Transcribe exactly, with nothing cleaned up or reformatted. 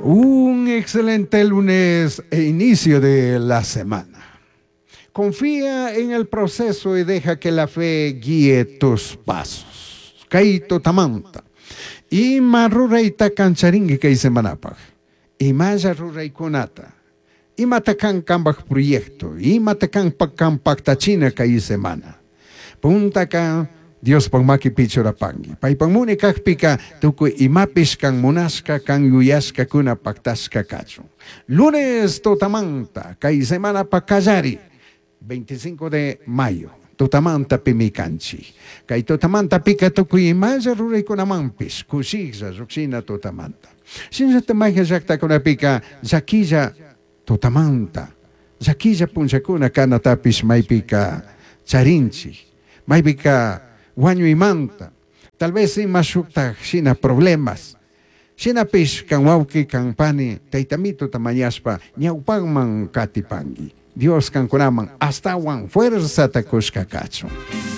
Un excelente lunes e inicio de la semana. Confía en el proceso y deja que la fe guíe tus pasos. Kay tutamanta. Ima rurayta kancharinki kay semanapaj. Imalla ruraykunata. Imata kan kanpaj proyecto. Imata kan kan paktachina kay semana. Puntaka Diospaj makipi churapanki. Paypak munay kakpika tukuy imapish kan munashka kan yuyashkakuna paktashka kachun. Lunes tutamanta kay semanapa kallari veinticinco de mayo tutamanta pimi kanchik. Kay tutamanta pika tukuy imalla ruraykunamanpish kushiklla llukshina tutamanta. Shinallata mayqa llaktakunapika llakilla tutamanta llakilla punllakuna kanatapish maypika charinchik. Maypika wañuymanta tal vez ima shuktaj shina problemas. Shinapish kan wawqi kan pani taytamituta mañashpa ñawpakman katipanki. Dios kankunaman astawan fuerzata kushka kachun.